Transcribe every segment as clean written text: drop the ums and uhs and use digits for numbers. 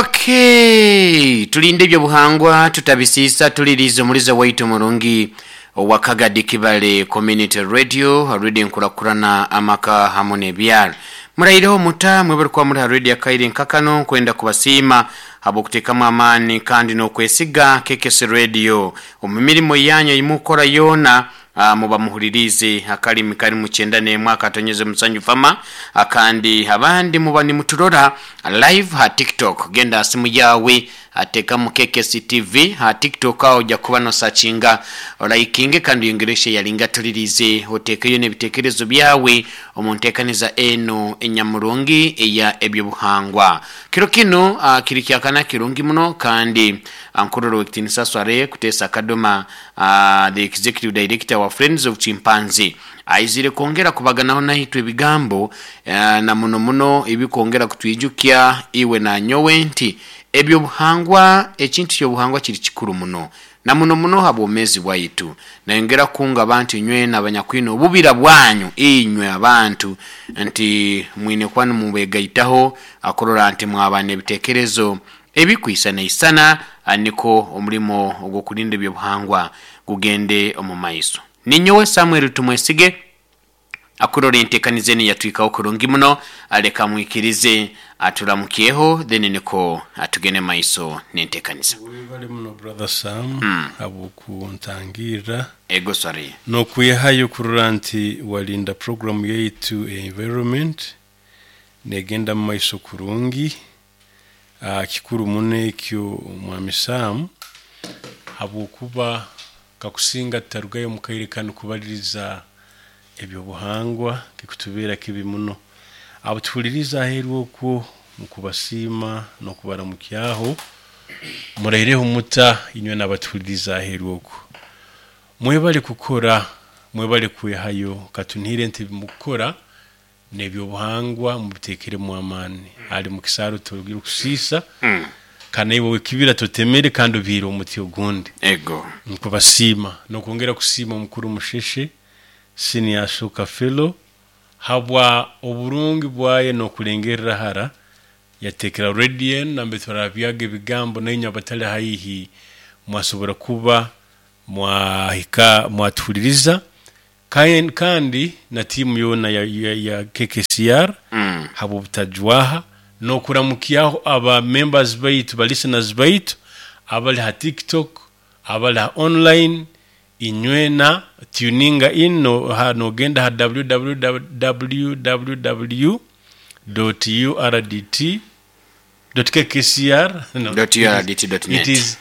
Okay, tulinde ebyobuhangwa tutabisiisa tuliriize omuliza waitu murungi owa Kagadi Kibale Community Radio, Radio Enkurakurana Amaka hamu n'Ebyaro. Muraireho muta mwebale kuba muri ha radio akaire nka kano nkwenda kubasiima habw'okuteekamu amaani kandi n'okwesiga KKC Radio omu mirimo yanyu ei mukukora yoona. Muba muhuliriize akalimi kali mu kyenda n'emwe akatonyeze musanju fama akandi abandi muba nimuturora live ha TikTok. Genda ha simu yaawe tekamu KKC TV ha TikTok aho oja kuba nosakinga olaikinge kandi oyongere osheyaringe atuliriize otekeyo n'ebitekerezo byawe omu ntekaniza enu enyamurungi eya eby'obuhangwa. Kiro kinu kiri kyakana kirungi muno kandi nkurora Owekitinisa Swaleh Kutesa Kadoma The Executive Director wa Friends of Chimpanzee aizire kwongera kubaganaho naitwe ebigambo na muno muno ebikwongera kutwijukya iwe nanyowe nti ebyobuhangwa ekintu kyobuhangwa kiri kikuru muno na muno muno ha bwomezi bwaitu. Nayongera kunga abantu inywena abanyakwine obubira bwanyu inywe abantu nti mwine kuba nimubegaitaho kurora nti mwaba n'ebitekerezo ebikwisanaisana nikwo omulimo ogw'okulinda ebyobuhangwa gugende omu maiso. Ninyowe Samuel Tumwesige akurora entekaniza enu yatwikaho kurungi muno, leka mwikirize aturamukyeho then nikwo tugende maiso n'entekaniza. Webale muno Brother Sam habw'okuntangirra. Ego sorry. N'okwehayo kurora nti walinda program yaitu eya environment negenda mumaiso kurungi. Kikuru muno ekyo Mwami Sam habwokuba kakusinga tutarugayo omu kaire kanu kubaliriza eby'obuhangwa kikutubeera kibi muno. Abutuhuliriza aheeru okwo mukubasiima n'okubaramukyaho muraireho muta inywe n'abatuhuliriza aheeru okwo. Mwebale kukora, mwebale kwehayo katunihire nti ebimukukora n'ebyobuhangwa mubiteekeremu amaani. Ali mu kisaaru torugire kusiisa kandi naiwe ow'ekibira totemere kandi obiire omuti ogundi. Ego. Nkubasiima n'okwongera kusiima omukuru Musheshe Senior Ashoka Fellow habwa oburungi bwaye n'okulengerra hara yateekera radio enu nambere turarabyaga ebigambo nainywe abatali haihi mwasobora kuba mwahika mwatuhuliriza kandi na tiimu yoona ya KKCR habw'obutajwaha n'okuramukyaho aba members baitu ba listeners baitu abali ha TikTok, abali ha online inywena tuninga in nogenda ha www dot urdt dot kkcr no, Dot urdt dot net. it is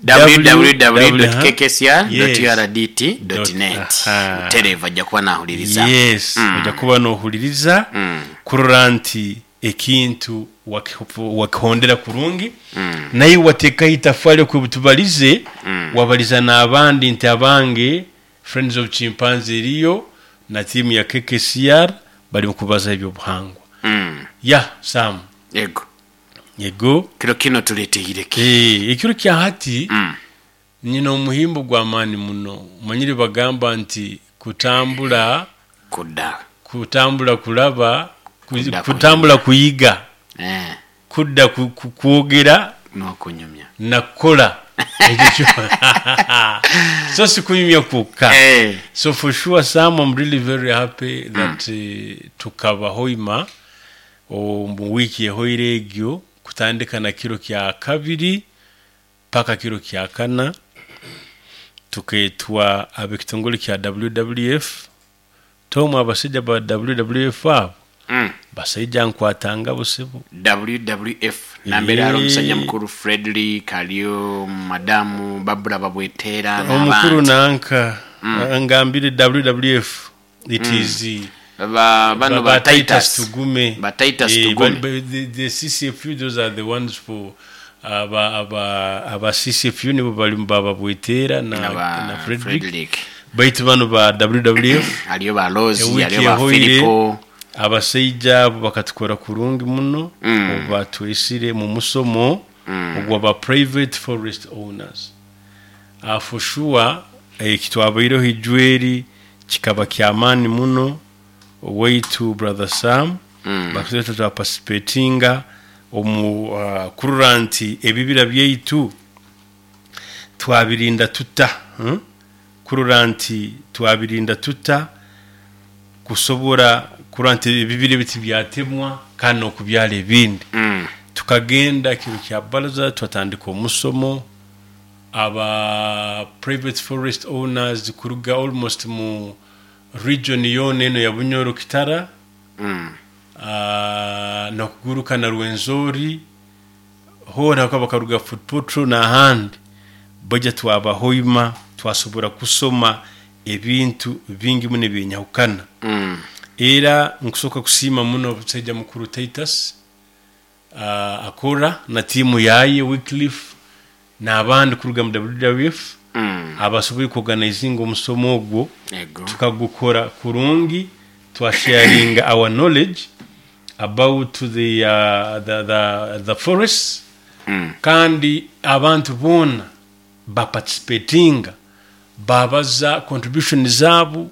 www.kkcr.urdt.net. Butereevu ajja kuba nahuliriza. Yes, ojja kuba nohuliriza kurora nti ekintu wakihondera kurungi naiwe wateekaho itafali okwebutubalize wabaliza n'abandi nti abange Friends of Chimpanzee eriyo na tiimu ya KKCR bali mukubaza ebyobuhangwa. Ya Sam. Ego. Ego. Kiro kinu tuleteire ki? Ekiro kya hati nyine omuhimbo gw'amaani muno. Omanyire bagamba nti kutambula Kudda. Kutambula kulaba, Kudda kutambula kuyiga. Kudda kwogera N'okunyumya. Na kukora ekyo kyo. So si kunyumya kwokka. So for sure Sam, I'm really very happy that tukaba Hoima omu wiiki ehoire egyo kutandika na kiro kya kabiri paka kiro kya kana tukeetwa ab'ekitongole kya WWF. Tom abasaija ba WWF abo basaija nkwatanga busibu. WWF nambere hariho omusaija mukuru Fredrick, hariyo madamu Babura Babweteera Omukuru n'abandi. Nanka ngambire WWF it is Ba, bano ba ba Titus Titus. Tugume. Ba Titus Eh, Tugume. The CCFU, those are the ones for aba CCFU nibo bali ba Babweteera Na ba na Frederick. Frederick. Baitu bano ba WWF Hariyo ba Rose, Ewiki hariyo ba ehoire, Filipo. Abasaija abo bakatukora kurungi muno obu batwesire mu musomo ogwa ba private forest owners. For sure ekitwabaireho ijweri kikaba kyamaani muno. Owaitu Brother Sam bakatweta twaparticipatinga Omu kurora nti ebibira byaitu twabirinda tuta, Kurora nti twabirinda tuta kusobora kurora nti ebibira ebi tibyatemwa kandi n'okubyara ebindi. Tukagenda kiro kya baraza twatandika omusomo, aba private forest owners kuruga almost mu region yoona enu eya Bunyoro Kitara, n'okuguruka na Rwenzori, hoona bakaba bakaruga Fort Portal n'ahandi, baija twabahoima twasobora kusoma ebintu bingi muno ebyenyahukana. Era nkusoka kusiima muno omusaija mukuru Titus Akora na tiimu yaye Wycliffe n'abandi kuruga mu WWF abasoboire kuorganizinga omusomo ogwo. Ego. Tukagukora kurungi, twasharinga our knowledge about the forests, kandi abantu boona baparticipatinga, babaza contribution zaabo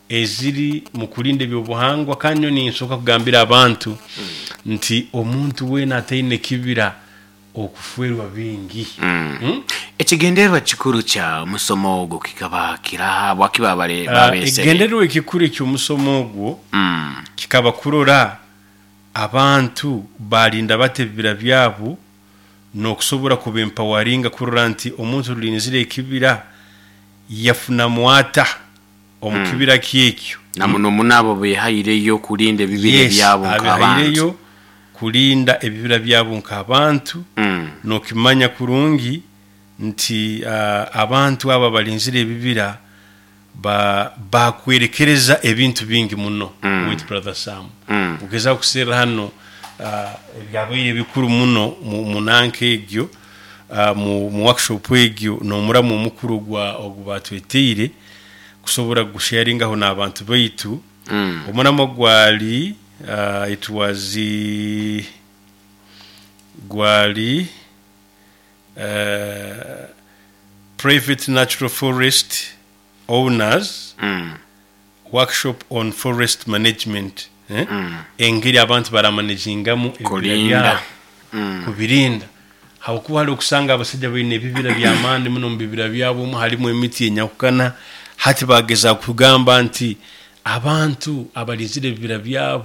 eziri mu kurinda ebyobuhangwa. Kandi nyowe ninsoboka kugambira abantu nti omuntu weena ataine kibira okufwerwa bingi. Ekigendererwa kikuru kya musomo ogwo kikaba kiraha? Habwaki babesere? Ekigendererwa ekikuru eky'omusomo ogwo kikaba kurora abantu barinda bata ebibira byabo n'okusobora kuba-empawaringa kurora nti omuntu rulinzire ekibira yafunamu ata omu kibira kyekyo. Na muno muno abo behaireyo kurinda ebibira ebyabo nk'abantu. Abehaireyo kurinda ebibira byabo nk'abantu. N'okimanya kurungi nti abantu abo abalinzire ebibira bakwerekereza ebintu bingi muno. With Brother Sam, ogezaho kuserra hano ebyabaire bikuru muno mu nanka egyo, mu workshop egyo, n'omuramu omukuru ogu batweteire kusobora gusharingaho n'abantu baitu. Omuramu gwali it was gwali private natural forest owners workshop on forest management, engeri abantu baramanagingamu ebibira Kurinda. byabo, kubirinda, habwokuba hali okusanga abasaija baine ebibira by'amaani muno. Mu bibira byabo omu halimu emiti enyahukana. Hati bageza kugamba nti abantu abalinzire ebibira byabo.